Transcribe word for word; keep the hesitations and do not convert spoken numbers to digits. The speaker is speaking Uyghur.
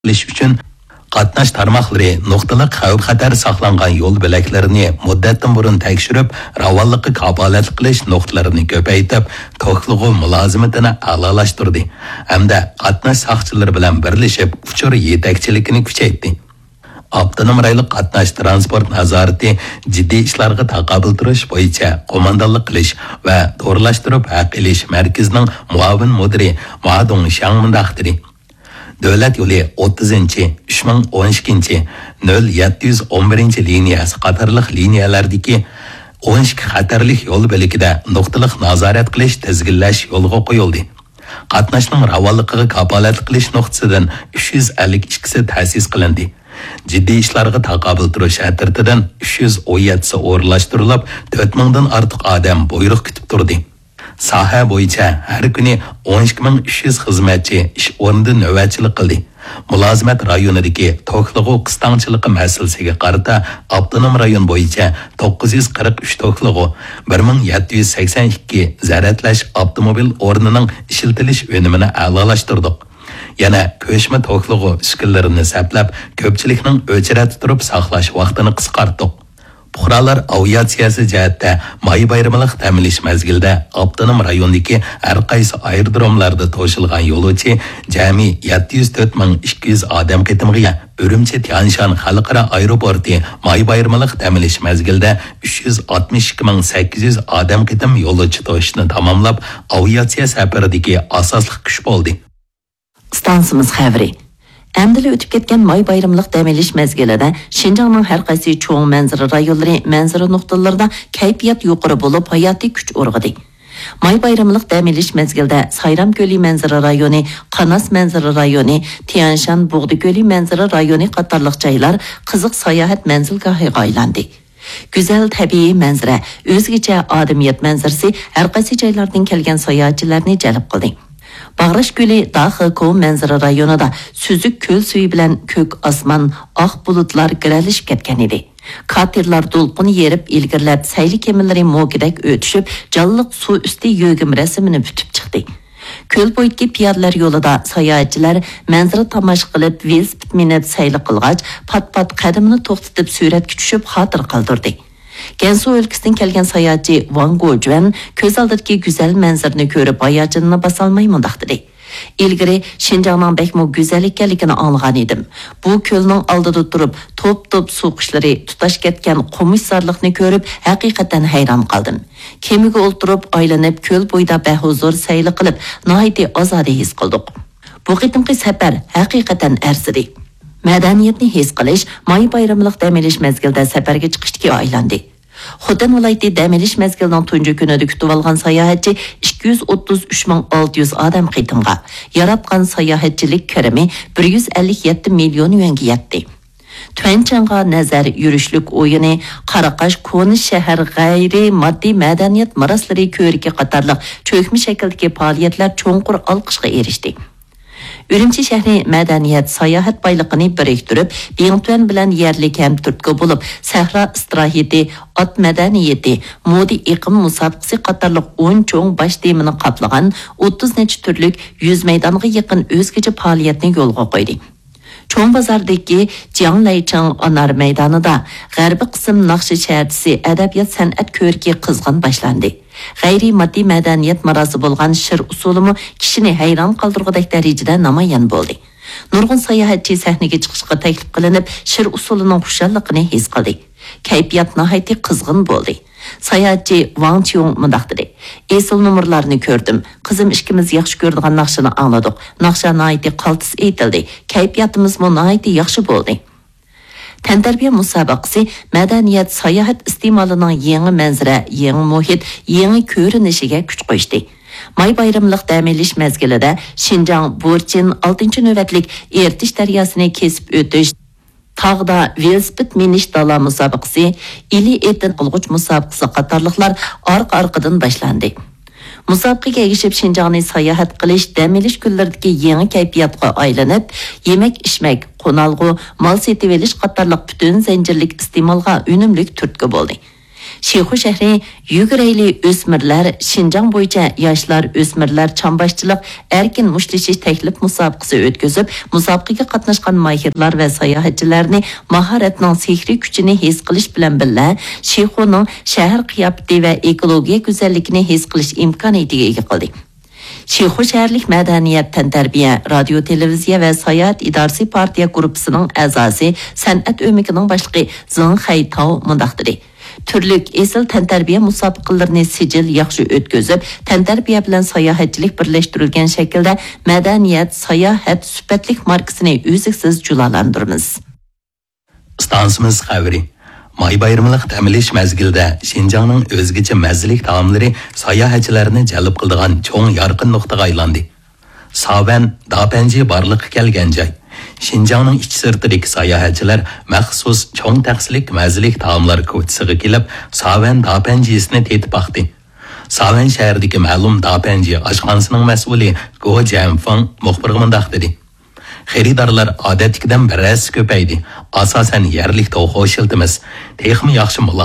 قىلىش ئۈچۈن قاتناش تارماقلىرى نۇقتىلىق خەۋپ-خەتەر ساقلانغان يول بۆلەكلىرىنى مۇددەتتىن بۇرۇن تەكشۈرۈپ، راۋانلىققا كاپالەتلىك قىلىش نۇقتىلىرىنى كۆپەيتىپ، توكلىغۇ مۇلازىمىتىنى ئەلالاشتۇردى ھەمدە قاتناش ساقچىلىرى بىلەن بىرلىشىپ ئۇچۇر يېتەكچىلىكىنى كۈچەيتتى. ئاپتونوم رايونلۇق قاتناش تىرانسپورت نازارىتى جىددىي ئىشلارغا تاقابىل تۇرۇش بويىچە قوماندانلىق قىلىش ۋە تورلاشتۇرۇپ ھەق ئېلىش مەركىزىنىڭ مۇئاۋىن مۇدىرى ما دۇڭشياڭ مۇنداق دېدى: دۆلەت يولى ئوتتۇزىنچى، ئۈچ مىڭ ئون ئىككىنچى، نۆل يەتتە يۈز ئون بىرىنچى لىنىيەسى قاتارلىق لىنىيەلەردىكى ئون ئىككى خەتەرلىك يول بۆلىكىدە نۇقتىلىق نازارەت قىلىش، تىزگىنلەش يولغا قويۇلدى. قاتناشنىڭ راۋانلىقىغا كاپالەتلىك قىلىش نۇقتىسىدىن ئۈچ يۈز ئەللىك ئىككىسى تەسىس قىلىندى. جىددىي ئىشلارغا تاقابىل تۇرۇش ئەترىتىدىن ئۈچ يۈز ئون يەتتىسى ئورۇنلاشتۇرۇلۇپ، تۆت مىڭدىن ئارتۇق ئادەم بۇيرۇق كۈتۈپ تۇردى. ساھە بويىچە ھەر كۈنى ئون ئىككى مىڭ ئۈچ يۈز خىزمەتچى ئىش ئورنىدا نۆۋەتچىلىك قىلدى. مۇلازىمەت رايونىدىكى توكلىغۇ قىستاڭچىلىقى مەسىلىسىگە قارىتا، ئاپتونوم رايون بويىچە توققۇز يۈز قىرىق ئۈچ توكلىغۇ، بىر مىڭ يەتتە يۈز سەكسەن ئىككى زەرەتلەش ئاپتوموبىل ئورنىنىڭ ئىشلىتىلىش ئۈنۈمىنى ئەلالاشتۇردۇق. يەنە كۆچمە توكلىغۇ ئۈسكۈنىلىرىنى سەپلەپ، كۆپچىلىكنىڭ ئۆچرەتتە تۇرۇپ ساقلاش ۋاقتىنى قىسقارتتۇق. پۇقرالار ئاۋىئاتسىيەسى جەھەتتە ماي بايرىملىق دەم ئېلىش مەزگىلىدە ئاپتونوم رايوندىكى ھەر قايسى ئايرودروملاردا توشۇلغان يولۇچى جەمئىي يەتتە يۈز تۆت مىڭ ئىككى يۈز ئادەم قېتىمغا ئىگە. ئۈرۈمچى تيانشان خەلقئارا ئايروپورتى ماي بايرىملىق دەم ئېلىش مەزگىلىدە ئۈچ يۈز ئاتمىش ئىككى مىڭ سەككىز يۈز ئادەم قېتىم يولۇچى توشۇشنى تاماملاپ، ئاۋىئاتسىيە سەپىرىدىكى ئاساسلىق كۈچ بولدى. ئىستانسىمىز خەۋىرى. ئەمدىلا ئۆتۈپ كەتكەن ماي بايرىملىق دەم ئېلىش مەزگىلىدە شىنجاڭنىڭ ھەر قايسى چوڭ مەنزىرە رايونلىرى، مەنزىرە نۇقتىلىرىدا كەيپىيات يۇقىرى بولۇپ، ھاياتىي كۈچ ئۇرغۇدى. ماي بايرىملىق دەم ئېلىش مەزگىلىدە سايرام كۆلى مەنزىرە رايونى، قاناس مەنزىرە رايونى، تيەنشان بۇغدا كۆلى مەنزىرە رايونى قاتارلىق جايلار قىزىق ساياھەت مەنزىلگاھىغا ئايلاندى. گۈزەل تەبىئىي مەنزىرە، ئۆزگىچە ئادەمىيەت مەنزىرىسى ھەر قايسى جايلاردىن كەلگەن ساياھەتچىلەرنى جەلپ قىلدى. باغراش كۆلى داخېكو مەنزىرە رايونىدا سۈزۈك كۆل سۈيى بىلەن كۆك ئاسمان، ئاق بۇلۇتلار گىرەلىشىپ كەتكەن ئىدى. كاتېرلار دولقۇن يېرىپ ئىلگىرىلەپ، سەيلە كېمىلىرى موكىدەك ئۆتۈشۈپ، جانلىق سۇ ئۈستى يۆگىمە رەسىمىنى پۈتۈپ چىقتى. كۆل بويىدىكى پىيادىلەر يولىدا ساياھەتچىلەر مەنزىرە تاماشا قىلىپ، ۋېلىسىپىت مىنىپ سەيلە قىلغاچ، پات-پات قەدىمىنى توختىتىپ سۈرەتكە چۈشۈپ خاتىرە قالدۇردى. گەنسۇ ئۆلكىسىدىن كەلگەن ساياھەتچى ۋاڭ گوجۈەن كۆز ئالدىدىكى گۈزەل مەنزىرىنى كۆرۈپ ھاياجىنىنى باسالماي مۇنداق دېدى: ئىلگىرى شىنجاڭنىڭ بەكمۇ گۈزەل ئىكەنلىكىنى ئاڭلىغان ئىدىم. بۇ كۆلنىڭ ئالدىدا تۇرۇپ، توپ-توپ سۇ قۇشلىرى، تۇتاش كەتكەن قومۇشزارلىقنى كۆرۈپ ھەقىقەتەن ھەيران قالدىم. كېمىگە ئولتۇرۇپ، ئايلىنىپ، كۆل بويىدا بەھۇزۇر سەيلە قىلىپ، ناھايىتى ئازادە ھېس قىلدۇق. بۇ قېتىمقى سەپەر ھەقىقەتەن ئەرزىدى. مەدەنىيەتنى ھېس قىلىش ماي بايرىملىق دەم ئېلىش مەزگىلىدە سەپەرگە چىقىشتىكى ئايلاندى. خوتەن ۋىلايىتى دەم ئېلىش مەزگىلىنىڭ تۇنجى كۈنىدە كۈتۈۋالغان ساياھەتچى ئىككى يۈز ئوتتۇز ئۈچ مىڭ ئالتە يۈز ئادەم قېتىمغا، ياراتقان ساياھەتچىلىك كىرىمى بىر يۈز ئەللىك يەتتە مىليون يۈەنگە يەتتى. تۈەنچاڭغا نەزەر، يۈرۈشلۈك ئويۇنى، قاراقاش كونا شەھەر غەيرىي ماددىي مەدەنىيەت مىراسلىرى كۆرىكى قاتارلىق چۆكمە شەكىلدىكى پائالىيەتلەر چوڭقۇر ئالقىشقا ئېرىشتى. ئۈرۈمچى شەھىرى مەدەنىيەت ساياھەت بايلىقىنى بىرىكتۈرۈپ، بىڭتۈەن بىلەن يەرلىك ھەم تۈرتكە بولۇپ، سەھرا ئىستىراھىتى، ئات مەدەنىيىتى، مودا ئېقىم مۇسابىقىسى قاتارلىق ئون چوڭ باش تېمىنى قاپلىغان ئوتتۇز نەچچە تۈرلۈك يۈز مەيدانغا يېقىن ئۆزگىچە پائالىيەتنى يولغا قويدى. چوڭ بازاردىكى جياڭلەيچىڭ ئانار مەيدانىدا غەربىي قىسىم ناخشا شەھەرچىسى ئەدەبىيات سەنئەت كۆرىكى قىزغىن باشلاندى. غەيرىي ماددىي مەدەنىيەت مىراسى بولغان شىر ئۇسسۇلىمۇ كىشىنى ھەيران قالدۇرغۇدەك دەرىجىدە نامايان بولدى. نۇرغۇن ساياھەتچى سەھنىگە چىقىشقا تەكلىپ قىلىنىپ، شىر ئۇسسۇلىنىڭ خۇشاللىقىنى ھېس قىلدى. كەيپىيات ناھايىتى قىزغىن بولدى. ساياھەتچى ۋاڭ چيۇڭ مۇنداق دېدى: ئېسىل نومۇرلارنى كۆردۈم. قىزىم ئىككىمىز ياخشى كۆرىدىغان ناخشىنى ئاڭلىدۇق. ناخشا ناھايىتى قالتىس ئېيتىلدى. كەيپىياتىمىزمۇ ناھايىتى ياخشى بولدى. تەنتەربىيە مۇسابىقىسى مەدەنىيەت، ساياھەت ئىستېمالىنىڭ يېڭى مەنزىرە، يېڭى مۇھىت، يېڭى كۆرۈنۈشىگە كۈچ قوشتى. ماي بايرىملىق دەم ئېلىش مەزگىلىدە شىنجاڭ بۇرچىن ئالتىنچى نۆۋەتلىك ئېرتىش دەرياسىنى كېسىپ ئۆتۈش، تاغدا ۋېلىسىپىت مىنىش دالا مۇسابىقىسى، ئىلى ئېتىن قىلغۇچ مۇسابىقىسى قاتارلىقلار ئارقا-ئارقىدىن باشلاندى. مۇسابىقىگە ئەگىشىپ شىنجاڭنى ساياھەت قىلىش، دەم ئېلىش كۈنلىرىدىكى يېڭى كەيپىياتقا ئايلىنىپ، يېمەك-ئىچمەك، قونالغۇ، مال سېتىۋېلىش قاتارلىق پۈتۈن زەنجىرلىك ئىستېمالغا ئۈنۈملۈك تۈرتكە بولدى. شىخۇ شەھىرى يۈگۈرەيلى ئۆسمۈرلەر شىنجاڭ بويىچە ياشلار، ئۆسمۈرلەر چامباشچىلىق ئەركىن مۇشتلىشىش تەكلىپ مۇسابىقىسى ئۆتكۈزۈپ، مۇسابىقىگە قاتناشقان ماھىرلار ۋە ساياھەتچىلەرنى ماھارەتنىڭ سېھرىي كۈچىنى ھېس قىلىش بىلەن بىللە، شىخۇنىڭ شەھەر قىياپىتى ۋە ئېكولوگىيە گۈزەللىكىنى ھېس قىلىش ئىمكانىيىتىگە ئىگە قىلدى. شىخۇ شەھەرلىك مەدەنىيەت، تەنتەربىيە، رادىيو، تېلېۋىزىيە ۋە ساياھەت ئىدارىسى پارتىيە گۇرۇپپىسىنىڭ ئەزاسى، سەنئەت ئۆمىكىنىڭ باشلىقى زېڭ خەيتاۋ مۇنداق دېدى: تۈرلۈك ئېسىل تەنتەربىيە مۇسابىقىلىرىنى سىجىل ياخشى ئۆتكۈزۈپ، تەنتەربىيە بىلەن ساياھەتچىلىك بىرلەشتۈرۈلگەن شەكىلدە مەدەنىيەت، ساياھەت سۈپەتلىك ماركىسىنى ئۈزلۈكسىز جۇلالاندۇرىمىز. ئىستانسىمىز خەۋىرى. ماي بايرىملىق دەم ئېلىش مەزگىلىدە شىنجاڭنىڭ ئۆزگىچە مەززىلىك تائاملىرى ساياھەتچىلەرنى جەلپ قىلىدىغان چوڭ يارقىن نۇقتىغا ئايلاندى. ساۋەن، داپەنجى بارلىققا كەلگەن جاي. شىنجاڭنىڭ ئىچى سىرتىدىكى ساياھەتچىلەر مەخسۇس چوڭ تەخسىلىك مەززىلىك تائاملار كوچىسىغا كېلىپ، ساۋەن داپەنجىسىنى تېتىپ باقتى. ساۋەن شەھىرىدىكى مەلۇم داپەنجى ئاشخانىسىنىڭ مەسئۇلى گو جيەنفېڭ مۇخبىرغا مۇنداق دېدى: خېرىدارلار ئادەتتىكىدىن بىر ھەسسە كۆپەيدى. ئاساسەن يەرلىك توخۇ ئىشلىتىمىز. تېخىمۇ ياخشى